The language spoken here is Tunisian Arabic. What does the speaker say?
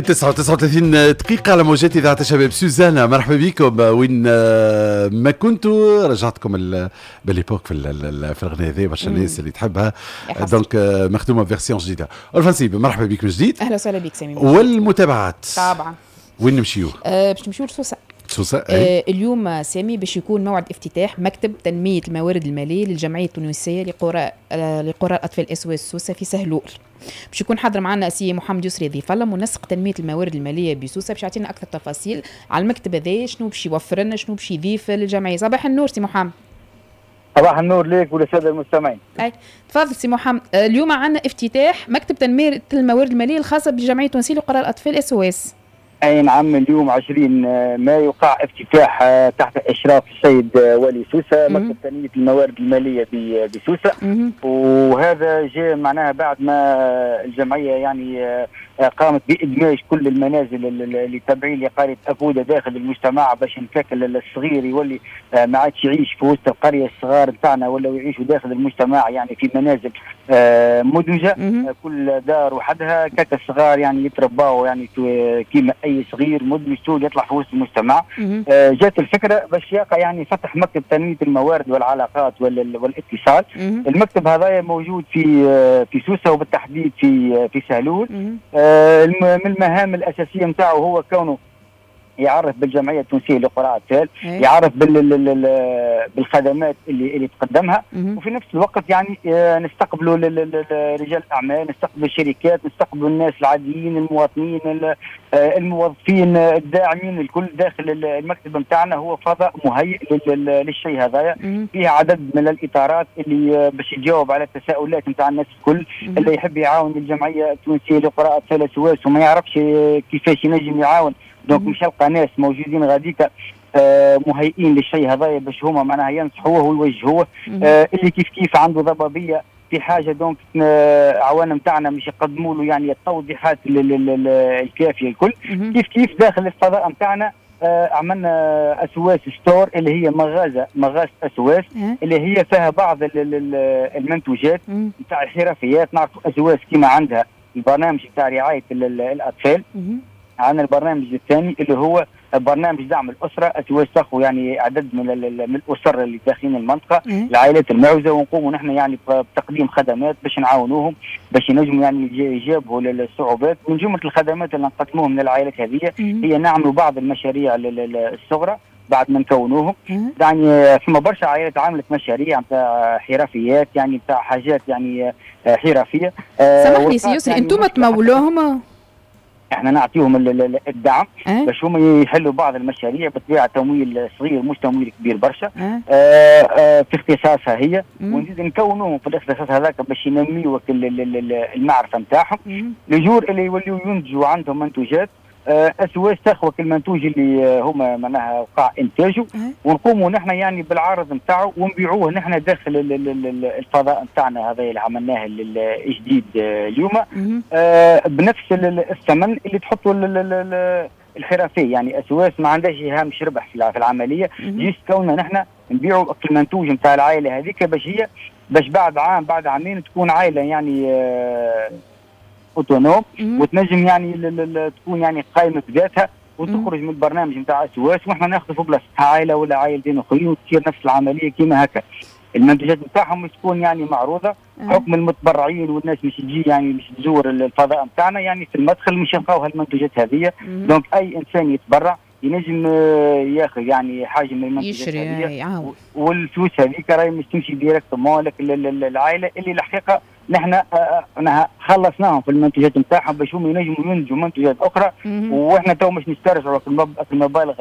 9:39 على موجات إذاعة الشباب. سوزانا، مرحبا بكم وين ما كنتوا. رجعتكم belle époque في الغناء هذه، برشا الناس اللي تحبها، donc مخدومة version جديدة. الفنسيب، مرحبا بك من جديد. اهلا وسهلا بك سامي. والمتابعات. طبعا. وين نمشيو؟ باش نمشيو لسوسه. سوسه. اليوم سامي باش يكون موعد افتتاح مكتب تنمية الموارد المالية للجمعية التونسية لقرى الاطفال SOS سوسة في سهلول. باش يكون حاضر معنا سي محمد يسري ضيف الله، منسق تنمية الموارد المالية بسوسه، باش يعطينا اكثر تفاصيل على المكتب هذا، شنو باش يوفر لنا، شنو باش يضيف للجمعيه. صباح النور سي محمد. صباح النور ليك وللساده المستمعين. اي، تفضل سي محمد. اليوم عندنا افتتاح مكتب تنمية الموارد المالية الخاصة بالجمعيه التونسية لقرى الاطفال SOS. اي نعم، اليوم 20 مايو وقع افتتاح تحت اشراف السيد والي سوسة مكتب تنمية الموارد المالية بسوسه. وهذا جاء معناها بعد ما الجمعية يعني قامت بادماج كل المنازل اللي تابعين لقرية اكوده داخل المجتمع، باش نفك الصغير يولي ما عادش يعيش في وسط القريه. الصغار نتاعنا ولاو يعيشوا داخل المجتمع، يعني في منازل مدمجه، كل دار وحدها، كاك الصغار يعني يترباوا يعني كيما اي صغير مدمج طول يطلع في وسط المجتمع. جات الفكرة باش يقع يعني فتح مكتب تنمية الموارد والعلاقات والاتصال. المكتب هذا موجود في سوسة وبالتحديد في سهلول. من المهام الاساسية نتاعو هو كونه يعرف بالجمعيه التونسية لقرى الاطفال، يعرف بالخدمات اللي تقدمها، وفي نفس الوقت يعني نستقبلوا رجال الاعمال، نستقبلوا الشركات، نستقبلوا الناس العاديين، المواطنين، الموظفين، الداعمين، الكل داخل المكتب نتاعنا. هو فضاء مهيئ للشيء هذايا، فيه عدد من الاطارات اللي باش يجاوب على التساؤلات نتاع الناس الكل. اللي يحب يعاون الجمعية التونسية لقرى اطفال SOS وما يعرفش كيفاش ينجم يعاون، donc مش يلقى ناس موجودين غاديكا مهيئين للشيء هذايا باش هما معناها ينصحوه ويوجهوه. اللي كيف كيف عنده ضبابية في حاجه، donc عوان نتاعنا مش يقدموا له يعني التوضيحات الكافيه الكل. كيف كيف داخل الفضاء نتاعنا عملنا SOS store، اللي هي مغازه SOS اللي هي فيها بعض المنتوجات نتاع الحرفيات. نعرفوا SOS كيما عندها البرنامج نتاع رعاية الاطفال، عندنا البرنامج الثاني اللي هو برنامج دعم الاسره. SOS تاخذ يعني عدد من الاسر اللي داخلين المنطقه، العائلات المعوزه، ونقوموا نحن يعني بتقديم خدمات باش نعاونوهم باش ينجموا يعني يجابهوا للصعوبات. من جملة الخدمات اللي نقدموهم للعائلات هذه هي نعملوا بعض المشاريع الصغرى بعد ما نكونوهم. يعني ثم برشا عائلات عملت مشاريع نتاع حرفيات، يعني نتاع حاجات يعني حرفيه. سامحني سي يسري، يعني انتم تمولوهم؟ احنا نعطيهم الدعم باش هم يحلوا بعض المشاريع، بالطبيعة تمويل صغير مش تمويل كبير برشا في اختصاصها هي، ونزيد نكونوهم في الاختصاص هذاك باش ينميوا المعرفة نتاعهم. le jour اللي يوليو ينتجوا عندهم منتوجات، SOS تاخذ المنتوج اللي هما معناها وقع انتاجه، ونقوموا نحن يعني بالعرض نتاعو ونبيعوه نحن داخل الفضاء نتاعنا هذا اللي عملناه الجديد اليوم بنفس الثمن اللي تحطوا الحرفيه. يعني SOS ما عندهاش هامش ربح في العمليه، juste كوننا نحن نبيعوا المنتوج نتاع العائلة هذيك باش بعد عام، بعد عامين تكون عائلة يعني autonome وتنجم يعني تكون يعني قائمة بذاتها وتخرج من البرنامج نتاع SOS، واحنا ناخذ في بلاصتها عائلة ولا عائلتين اخرين وتصير نفس العملية كما هكا. المنتوجات نتاعهم تكون يعني معروضه، حكم المتبرعين والناس مش تجي يعني مش تزور الفضاء نتاعنا، يعني في المدخل مش يلقاو هالمنتوجات هذه. donc اي انسان يتبرع ينجم ياخذ يعني حاجة من المنتوجات يشري هذه، والفلوس هذيك راهي مش تمشي directement لك العائلة اللي الحقيقة نحن خلصناهم في المنتوجات نتاعهم باش هم ينجموا ينتجوا منتوجات اخرى، واحنا تو مش نسترجعوا في المبالغ.